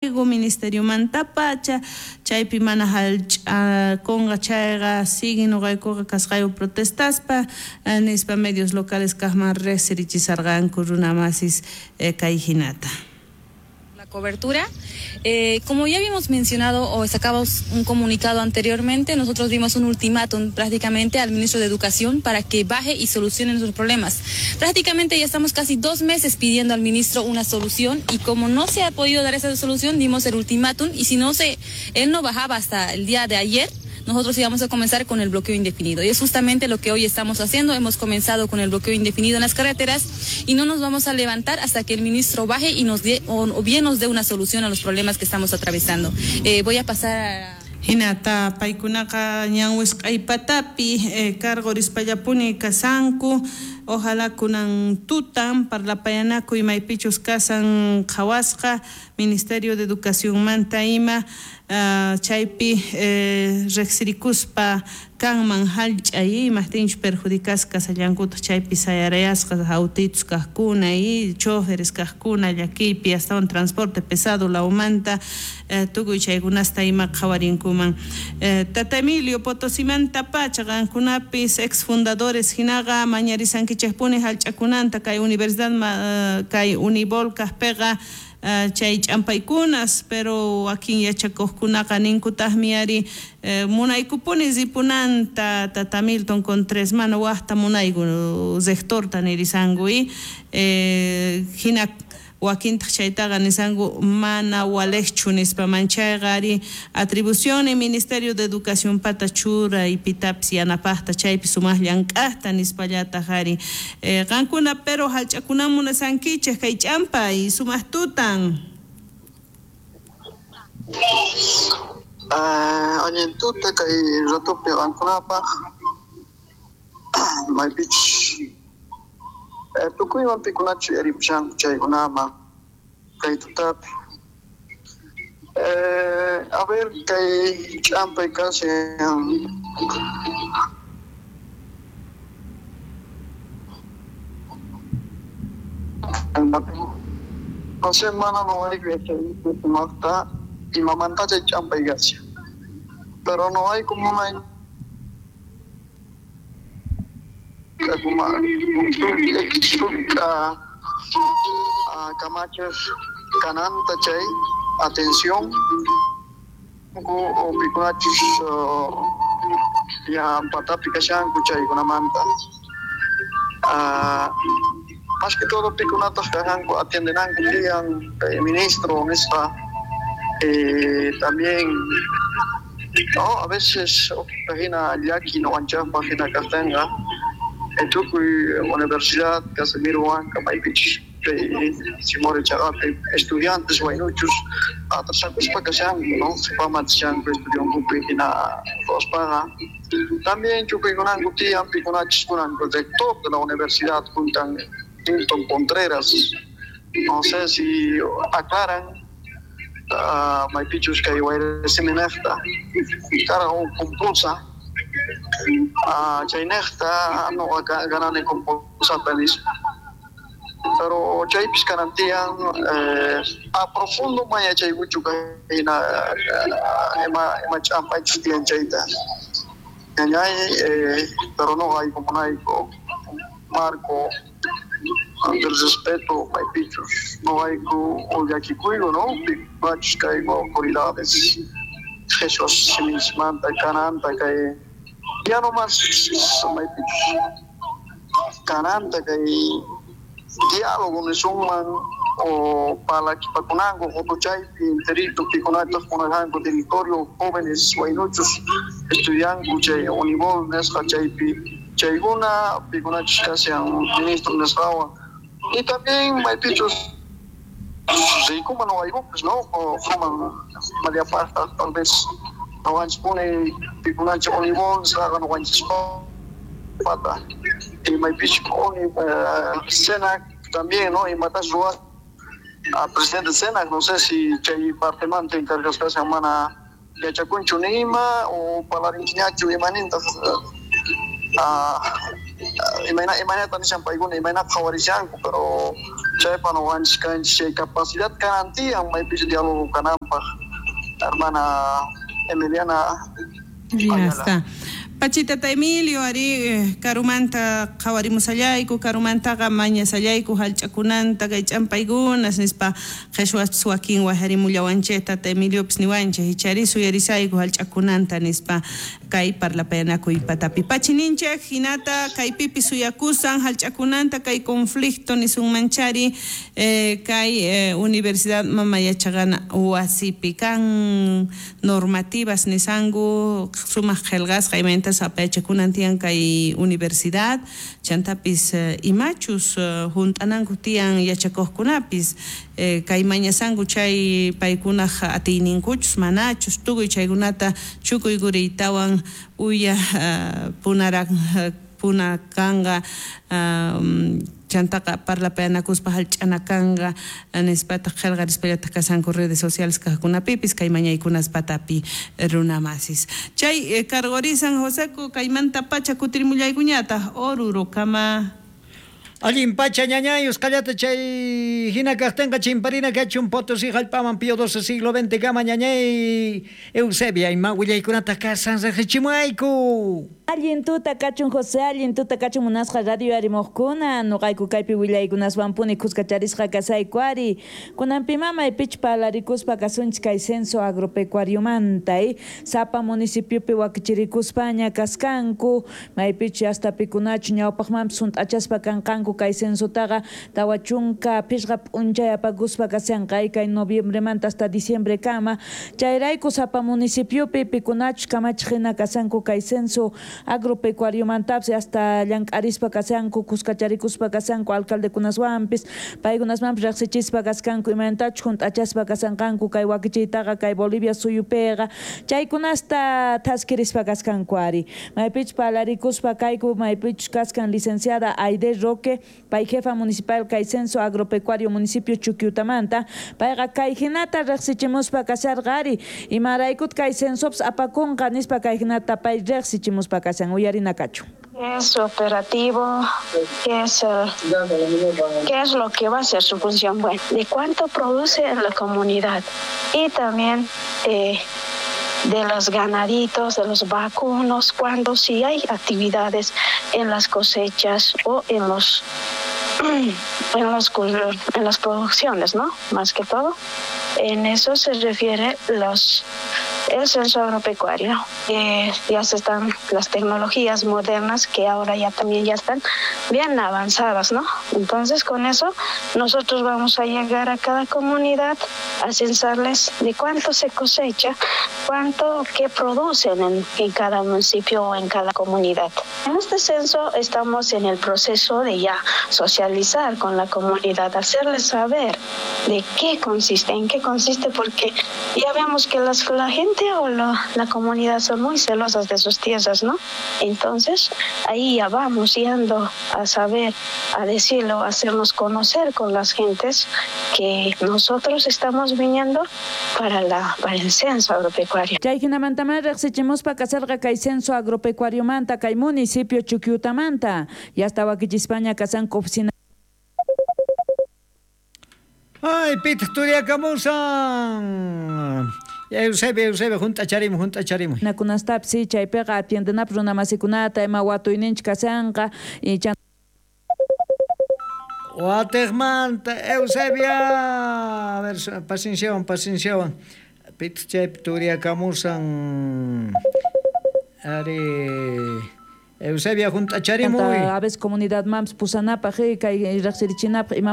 Pliego ministeriomantapacha chaypi mana hallch'akunqa chayqa siguen noqaykuqa kasqayku protestaspa nispa medios locales kaqman riqsirichisarqanku runamasis kay hinata. La cobertura. Como ya habíamos mencionado o sacamos un comunicado anteriormente, nosotros dimos un ultimátum prácticamente al ministro de Educación para que baje y solucione nuestros problemas. Prácticamente ya estamos casi 2 meses pidiendo al ministro una solución y como no se ha podido dar esa solución, dimos el ultimátum y si no se, él no bajaba hasta el día de ayer, nosotros íbamos a comenzar con el bloqueo indefinido. Y es justamente lo que hoy estamos haciendo. Hemos comenzado con el bloqueo indefinido en las carreteras y no nos vamos a levantar hasta que el ministro baje y nos dé, o bien nos dé una solución a los problemas que estamos atravesando. Voy a pasar a... Hinata paykunaqa ñan wisq'aypatapi cargorispallapuni kasanku. Ojalá kunan tutan parlapayanakuy maypichus kasan qhawasqa Ministerio de Educacionmanta ima chaypi riqsirikuspa kanman hallch'ay imajtinchus perjudicasqa kasallankutaq chaypi sayarayasqa autitos kaqkuna y choferes kaqkuna llakiypi astawan transporte pesado lawmanta tukuy chaykunasta ima qhawarinkuman. Tata Emilio Potosimanta pacha qankunapis ex fundadores hinaqa mañarisankichikpuni hallch'akunanta kay universidad kay Unibol kaqpiqa chay ch'ampaykunas, pero wakin yachakuqkunaqa ninkutaqmi ari munaykupuni ripunanta Tata Milton Contreras mana waqta munayku rectorta nirisanku y hina wakintaq chaytaqa nisanku mana waliqchu nispa manchayqa ari atribución y Ministerio de Educación pata churay pitapis yanapaqta chaypi sumaq llank'aqta nispallataq ari qankuna pero hallch'akunan munasankichik kay ch'ampay sumaq tutan. Allin tuta kay ratupi qankunapaq maypichus tukuywan pikunachu yaripushanku chaykunaman kay tutapi. A ver, kay ch'ampay kashan no sé, mana no hay que imamanta chay ch'ampay kashan, pero no hay como una Camacho kananta chay atención o pikunachus ya patapi kashanku chaykunamanta más que todo pikunataq kashanku atiendenanku tiyan ministro nispa también no a veces hina llaki noqanchaqpaq hina kaqtinqa tukuy universidad Casimiro Huanca maypichus Simón Chagape estudiantes waynuchus atrasakuspa kashanku no qhipaman estudiankupi hina ruwaspaqa también chukuykunanku tiyan pikunachus kunan rector de la universidad juntan Milton Contreras no sé si aclaran maypichus kay wayrasiminiqta karqa huk compulsa chaynejta noqa ganani compulsata nispa pero chaypis kanan tiyan a profundo man yachaykuchu hina ima ch'ampaychus tiyan chayta ñañay pero noqa aykumunayku marco del respeto maypichus noqayku llakikuyku no pikunachus kayku autoridades Jesús simismanta kananta kay ya no más maypichus kananta kay diálogo nisunman o parlakipakunanku qutuchaypi enterito pikunataq kunajanku territorio jóvenes waynuchus estudianku chay Unibol nisqa chaypi chaykuna pikunachus kashan ministro nisqawan y también maypichus rikuman noqaykupis no fuman mallapaqta tal vez noqanchispuni pikunachik Unibol nisqaqa noqanchispata y maypichus Senac también no imatas ruwas presidente Senac no sé si chay partemanta encargasqa kashan mana yachakunchu nima o parlarinchikñachu imanintaq imaynata nishan paykuna imaynata qhawarishanku pero Chaypa noqanchis kanchis chay capacidad kanan tiyan maypichus diálogo kananpaq, hermana Emiliana. Ya está. Pachitata Emilio, ari karumanta qhawarimusallayku, karumantaqa mañasallayku hallch'akunanta kay ch'ampaykunas nispa qhishwaspis wakin wajarimullawanchik tata Emiliopis niwanchik ichari suyarisayku hallch'akunanta nispa kay parlapayanakuy patapi. Pachininchik hinata kaypipis suyakusan hallch'akunanta kay conflicto nisunmanchari kay Universidad Mama Yachaqana wasipi kan normativas nisanku sumaq qillqasqa imaynata apayachakunan tiyan kay universidad chantapis imachus hunt'ananku tiyan yachakuqkunapis kay mañasanku chay paykunaq atiyninkuchus manachus tukuy chaykunata chukuy-kuriytawan uya puna kanqa chantaqa parlapayanakuspa hallch'ana kanqa nispataq qillqarispallataq kasanku redes sociales kaqkunapipis kay mañaykunas patapi runamasis. Chay cargorisan Joseco kaymanta pacha kutirimullaykuñataq Orurokama. Allin pacha ñañay usqallata chay hina kaqtinqa chimparina kachun Potosí hallp'aman Pío XII siglo XX kama ñañay Eusebia ima willaykunata kasan riqsichimuayku. Allin tuta kachun José, allin tuta kachun munasqa radio arimuqkuna, nuqayku kaypi willaykunaswanpuni khuskacharisqa kasayku ari. Kunanpi mamay pich parlarikuspa kasunchik kay censo agropecuariomanta, sapa municipiopi wakichirikuspaña kaskanku, maypichu hasta pikunachu ñawpaqmanpis hunt'achaspa kanqanku kay censotaqa 45 p'unchay apakuspa kashanqa kay noviembremanta hasta diciembre kama. Chayrayku sapa municipiopi pikunachu kamachiq hina kashanku kay censo agropecuariomantapis hasta llank'arispa kashanku, khuskacharikuspa kashanku alcaldekunaswanpis, paykunasmanpis riqsichispa kaskanku imaynatachu hunt'achaspa kashanqanku kay wakichiytaqa kay Bolivia suyupiqa chaykunasta thaskirispa kaskanku ari. Maypichus parlarikuspa kayku maypichus kaskan licenciada Aide Roque, pay jefa municipal kay censo agropecuario municipio Chuquiutamanta, payqa kay hinata riqsichimuspa kasharqa ari, imaraykut kay censopis apakunqa nispa kay hinata pay riqsichimuspa kashan uyarina kachu. Es operativo, ¿qué es lo que va a ser su función? Bueno, de cuánto produce en la comunidad y también de los ganaditos, de los vacunos, cuando sí hay actividades en las cosechas o en los en las producciones, ¿no? Más que todo, en eso se refiere el censo agropecuario. Ya se están las tecnologías modernas que ahora ya también ya están bien avanzadas, ¿no? Entonces con eso nosotros vamos a llegar a cada comunidad a censarles de cuánto se cosecha, cuánto que producen en cada municipio o en cada comunidad. En este censo estamos en el proceso de ya socializar con la comunidad, hacerles saber de qué consiste, en qué consiste, porque ya vemos que la gente o la comunidad son muy celosas de sus tierras, ¿no? Entonces, ahí ya vamos yendo a saber, a decirlo, a hacernos conocer con las gentes que nosotros estamos viniendo para el censo agropecuario. Chay hinamantamá riqsichimuspa kasarqa kay censo agropecuariomanta kay municipio Chuquiutamanta. Ya estaba wakichispaña kasanku oficina. Ay, pitaq turiakamusan. Eusebio, junt'acharimuy. Nakunastapis sí, chaypiqa atiendenapis runamasikunata ima watuyninchik kashanqa y Watejmanta, Eusebia. A ver, pacienciawan. Pitaq chaypi turiakamusan. Ari Eusebia junt'acharimuy. A veces comunidad mams pusanapaq kay riqsirichinapaq ima.